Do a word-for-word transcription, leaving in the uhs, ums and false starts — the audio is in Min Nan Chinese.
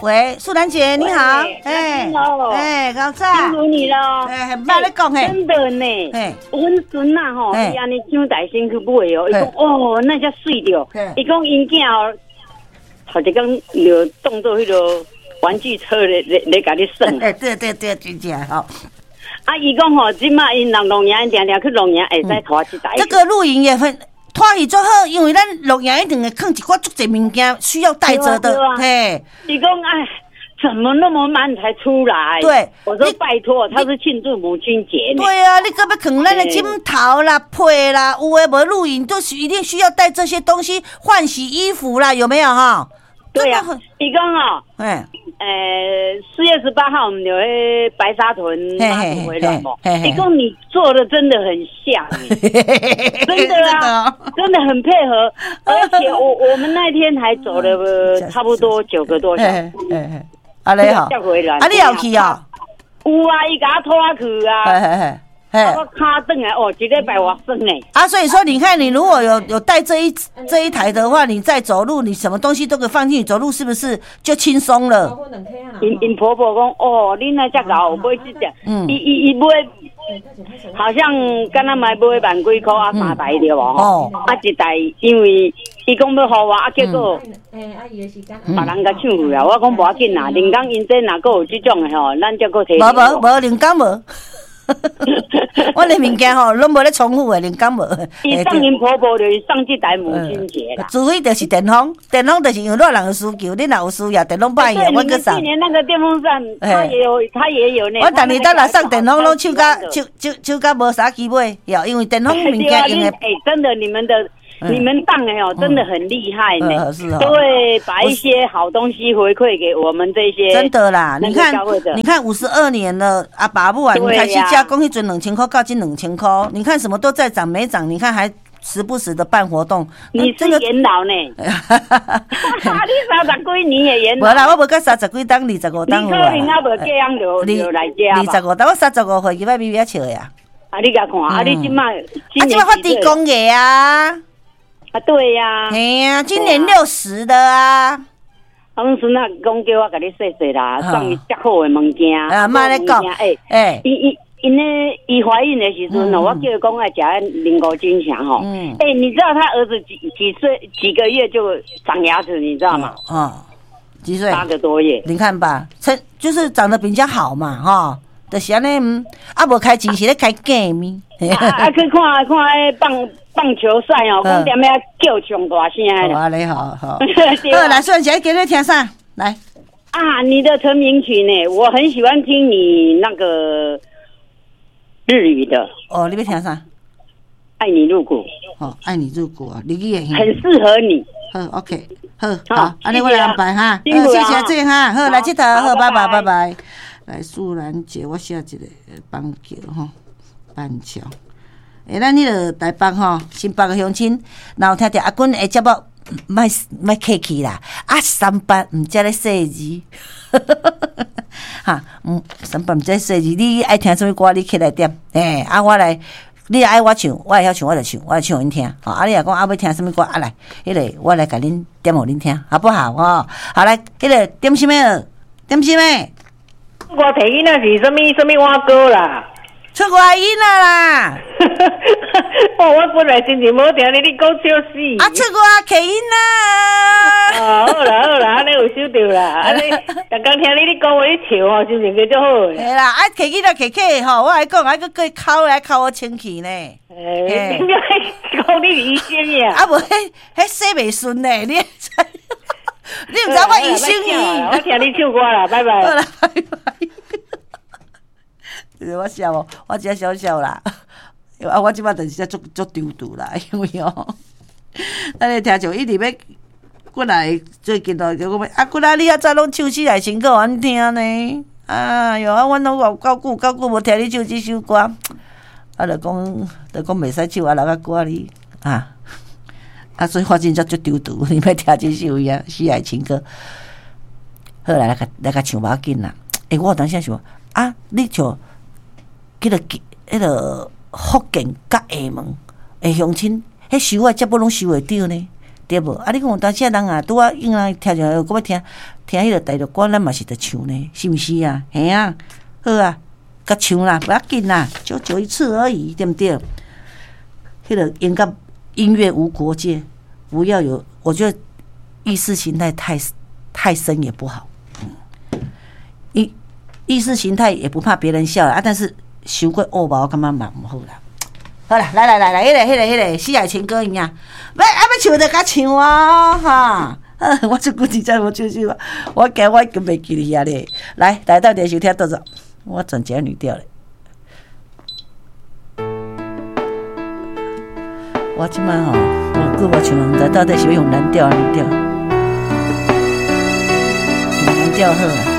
喂，素蘭姐你好，哎，哎，𠢕早，辛苦你了，哎，慢咧講嘿，真的呢，阮孫仔吼，伊按呢搶台先去買哦，伊講哦，那遮媠著，伊講𪜶囝哦，頭一工就當做彼个玩具車咧咧咧共你耍。哎，對對對，真正吼。啊，伊講吼，這馬𪜶人露營，定定去露營，會使拖這台。這個露營也很拖去足好，因為咱露營一定會囥一寡足濟物件需要帶著的，嘿。伊講哎，怎麼那麼慢才出來？對，我說拜託，他是慶祝母親節。對啊，你閣欲囥咱的枕頭啦、被啦，有的無露營都是一定需要帶這些東西，換洗衣服啦，有沒有哈？對啊，伊講哦，哎，呃，四月十八號我們有去白沙屯媽祖回鑾嘛？伊講你做的真的很像，真的啊，真的很配合，而且我我們那天還走了差不多九個多小時。啊你好，啊你有去啊？有啊，伊共我拖去啊。我跤轉來哦，一禮拜偌酸呢。啊，所以說你看，你如果有有帶這一這一台的話，你在走路，你什麼東西都可以放進去，走路是不是就輕鬆了？𪜶𪜶婆婆講哦，你若遮𠢕買這隻，伊伊伊買，好像敢若嘛買萬幾箍啊，三台對無？哦，啊一台，因為伊講欲予我，啊結果別人共搶去啊。我講無要緊啦，靈感𪜶這若閣有這種的吼，咱才閣提。無無無，靈感無。我的物件吼，攏無咧重複的，靈感無。伊送𪜶婆婆就是送這台母親節啦。除非就是電風，電風就是因為老人有需求，你若有需要，電風歹用，我閣送。去年那個電風扇，他也有，他也有呢。我逐年當若送電風，攏手甲手手手甲無啥機買，因為電風物件用的。欸，真的，你們的。你們當的哦，真的很厲害呢，都會把一些好東西回饋給我們這些。真的啦，你看，你看五十二年了，阿爸母啊，你開始加工彼陣兩千箍到這兩千箍，你看什麼都在漲，沒漲，你看還時不時的辦活動。你是元老呢？你三十幾年的元老。無啦，我無到三十幾冬，二十五冬。你可能還無嫁人就就來遮。二十五冬，我三十五歲就欲咪咪笑的啊。啊，你共看，啊，你這馬，啊，這馬發豬公的啊。啊，對呀，嘿呀，今年六十的啊。阮孫仔講叫我共你說說啦，送伊遮好的物件。啊，莫咧講，欸，欸，伊伊𪜶咧，伊懷孕的時陣哦，我叫伊講愛食靈骨金強吼。嗯。欸，你知道他兒子幾幾歲幾個月就長牙齒，你知道嗎？哦，幾歲？八個多月。你看吧，成就是長得比較好嘛，哈。就是按呢，啊，無開錢是咧開假面。啊，去看看彼棒棒球賽哦，講踮遐叫上大聲的。好，你好，好。好，來，素蘭姐，今日聽啥？來。啊，你的成名曲呢？我很喜歡聽你那個日語的。哦，你欲聽啥？愛你入骨。哦，愛你入骨啊，日語的。很適合你。好，OK，好，好，按呢我來安排哈。好，謝謝這哈，好，來這頭，好，拜拜，拜拜。來，素蘭姐，我寫一個板橋吼，板橋。欸，咱彼个台北吼，新北的鄉親，若有聽著阿君的節目，莫莫客氣啦。啊，三八毋才咧細字，哈，毋三八毋才細字，你愛聽啥物歌，你起來點。欸，啊，我來，你若愛我唱，我會曉唱，我就唱，我來唱予恁聽。吼，啊，你若講啊欲聽啥物歌，啊來，彼个我來共恁點予恁聽，好不好？吼，好來，彼个點啥物？點啥物？我提囡仔是啥物啥物碗糕啦？出外囡仔啦！哦，我本來心情無好，聽你你講笑死。啊，出外客囡仔。哦，好啦好啦，按呢有收著啦。按呢，逐工聽你咧講話咧笑吼，心情較足好。嘿啦，啊，客囡仔客客吼，我來講，還閣閣摳來摳我清氣呢。欸，點解講你是醫生呀？啊無，彼彼洗袂順呢，你你毋知我醫生伊。我聽你唱歌啦，拜拜。好啦，拜拜。我笑哦，我只笑笑啦。啊，我這擺就是足足惆悫啦，因為哦，咱咧聽眾一直欲過來，最近都叫我啊，過來你較早攏唱四愛情歌予阮聽呢。哎喲，啊，阮攏有夠久夠久無聽你唱這首歌，啊，就講就講袂使唱，啊，留較歌哩啊。啊，所以我真正足惆悫，你欲聽這首伊啊，四愛情歌。好來，來共來共唱無要緊啦。欸，我有當時想，啊，你像彼个彼个福建佮廈門的鄉親，彼收的節目攏收會著呢。對無？啊，你講有當時人啊，拄仔應人聽著，閣欲聽聽彼個大陸歌，咱嘛是著唱呢，是毋是啊？嘿啊，好啊，共唱啦，無要緊啦，久久一次而已，對毋對？彼個應該音樂無國界，不要有，我覺得意識形態太太深也不好。嗯，意意識形態也不怕別人笑啊，但是傷過惡吧，我感覺嘛毋好啦。好啦，來來來來，彼個彼個彼個死愛情歌一樣，欲啊欲唱就共唱啊，哈！我這久真正無唱首，我驚我已經袂記得遐咧。來，來到電視聽倒走，我轉一個女調咧。我這擺吼，我久無唱，毋知到底是欲用男調抑女調。用男調好啊。